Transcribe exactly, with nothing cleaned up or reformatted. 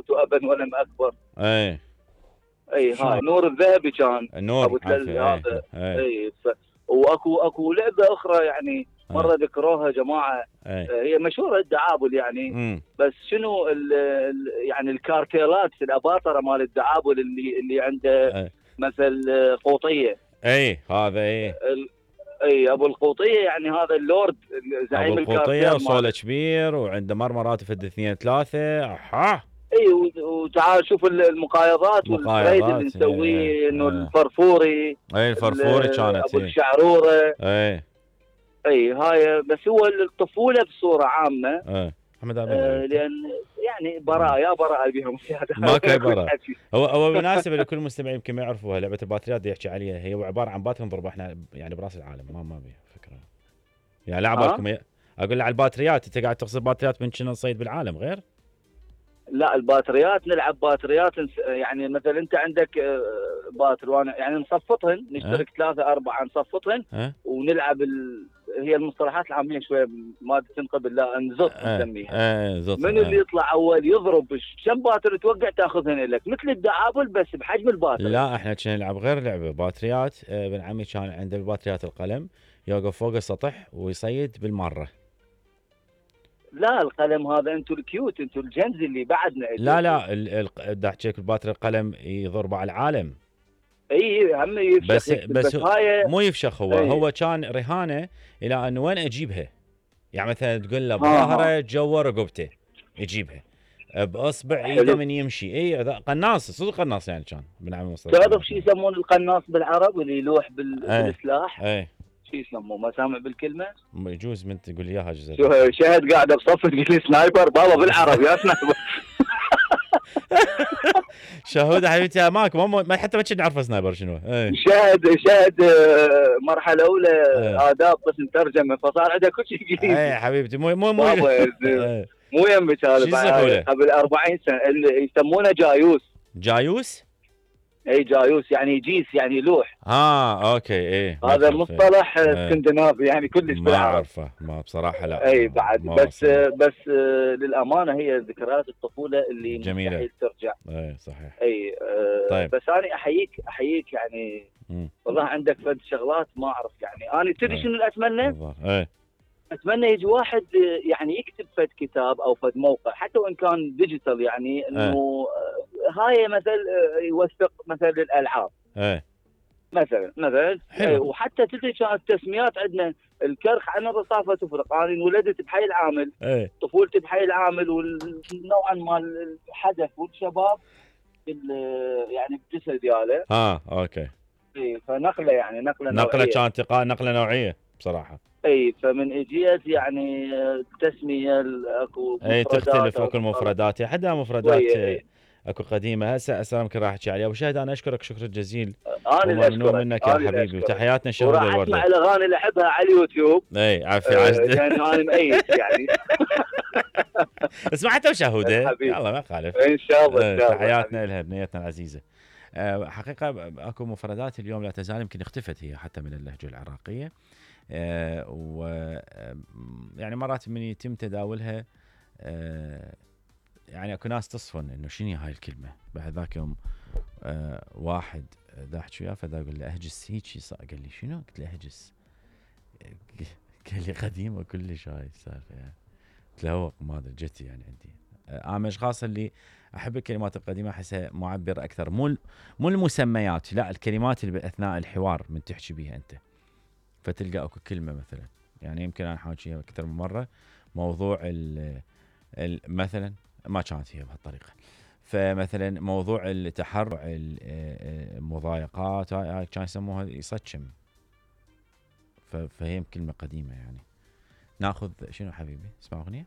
دعوت ابا ولم اكبر. اي اي هاي نور الذهبي كان النور ابو تلال هذا. اي, اي ف... واكو اكو لعبه اخرى يعني مره ذكروها جماعه. أي. هي مشهوره الدعابل يعني. مم. بس شنو ال ال يعني الكارتيلات الاباطره مال الدعابل اللي اللي عنده أي. مثل قوطيه. اي هذا اي ال... اي ابو القوطيه يعني هذا اللورد زعيم الكارتيل. ابو القوطيه وصوله كبير وعنده مرمرات في اثنين ثلاثه. اها اي وتعال شوف المقايضات والتريد اللي نسويه انه الفرفوري. اي الفرفوري كانت ابو الشعروره. اي اي هاي بس هو الطفوله بصوره عامه. اي محمد آه لان يعني براءه يا براءه بهم ما كاي براءه. هو هو بالمناسبه لكل المستمعين يمكن ما يعرفوها لعبه الباتريات دي يحكي عليها. هي عباره عن بات نضرب احنا يعني براس العالم ما ما بيها فكره يعني لا عبالكم أه؟ اقول على الباتريات انت قاعد تقصد باتريات من شنو نصيد بالعالم غير؟ لا الباتريات نلعب باتريات يعني مثلا انت عندك باتر وانا يعني نصفطهن نشترك أه؟ ثلاثه اربعه نصفطهن أه؟ ونلعب ال... هي المصطلحات العاميه شويه ما تنقبل لا نزط نسميها. أه؟ أه من اللي يطلع اول يضرب كم باتر توقع تاخذهن لك مثل الدعابل بس بحجم الباتر. لا احنا كنا نلعب غير لعبه باتريات. ابن عمي كان عنده الباتريات القلم يوقف فوق السطح ويصيد بالمره. لا القلم هذا انتم الكيوت انتم الجنز اللي بعدنا. لا لا دا احكيك الباتري القلم يضرب على العالم. اي هم يفشخ بس بس, بس هاي مو يفشخ هو أي. هو كان رهانه الى انه وين اجيبها يعني مثلا تقول له بظهره جوا رقبته يجيبها باصبع ايده من يمشي. اي قناص صدق قناص يعني كان بنعمل مصطلح. تعرف شو يسمون القناص بالعرب اللي يلوح بال... أي. بالسلاح؟ اي شو يسموه ما سامع بالكلمه؟ يجوز من تقول لي اياها جزء. شاهد قاعده بصف تقول لي سنايبر بابا بالعرب يا سنايبر. شهوده حبيبتي ماكو ما حتى ما كنا نعرف سنايبر شنو. شاهد شاهد مرحله اولى أي. آداب قسم ترجمه فصار عنده كل شيء انجليزي. اي حبيبتي مو مو مو مو يمك هذا قبل أربعين سنه اللي يسمونه جايوس. جايوس؟ اي جايوس يعني جيس يعني لوح. اه اوكي ايه هذا مصطلح اسكندنافي يعني كلش ما اعرفه ما بصراحه لا. اي بعد بس وصل. بس للامانه هي ذكريات الطفوله اللي جميله مستحيل ترجع. اي صحيح. اي آه طيب. بس انا احييك احييك يعني م. والله عندك فد شغلات ما اعرف يعني انا تدري شنو اللي اتمنى؟ اي اتمنى يجي واحد يعني يكتب فد كتاب او فد موقع حتى وان كان ديجيتال يعني انه هاي مثل يوثق مثل الالعاب. ايه مثلا مثلا حلو. وحتى تدري كانت التسميات عندنا الكرخ عن الرصافه تفرق. انا انولدت بحي العامل. ايه. طفولتي بحي العامل ونوعا ما الحدث والشباب يعني بجسد دياله. اه اوكي. اي فنقله يعني نقله نوعيه. نقله كانت نقله نوعيه بصراحه. اي فمن اجيت يعني التسميه اكو مفردات. اي تختلف اكو المفردات حتى مفردات اكو قديمه هسه هسه يمكن راح احكي عليها. ابو شهد انا اشكرك شكرا جزيلا. انا وممنون منك يا حبيبي وتحياتنا شهود الورده. وراح اسمع الاغاني اللي احبها على اليوتيوب. اي عافيه عجد يعني انا مؤيد يعني. اسمع انت وشهوده يلا ما يخالف ان شاء الله. تحياتنا لها بنيتنا العزيزه. حقيقه اكو مفردات اليوم لا تزال يمكن اختفت هي حتى من اللهجه العراقيه. أه و يعني مرات من يتم تداولها أه يعني اكو ناس تصفن انه شنو هاي الكلمه. بعد ذاك يوم أه واحد دا احكي وياه فدا اقول له اهجس هيك قال لي شنو؟ قلت له اهجس قال لي قديمه كلش هاي السالفه يعني. قلت له هو ما ادري جتي يعني عندي. انا من الاشخاص اللي احب الكلمات القديمه احسها معبره اكثر مو مو المسميات لا الكلمات اللي باثناء الحوار من تحكي بيها انت. فتلقى اكو كلمه مثلا يعني يمكن انا حاكيها اكثر من مره موضوع ال مثلا ما كانت هي بهالطريقه. فمثلا موضوع التحرع المضايقات هاي كان يسموها يصكم. فهي كلمه قديمه يعني. ناخذ شنو حبيبي اسمع اغنيه.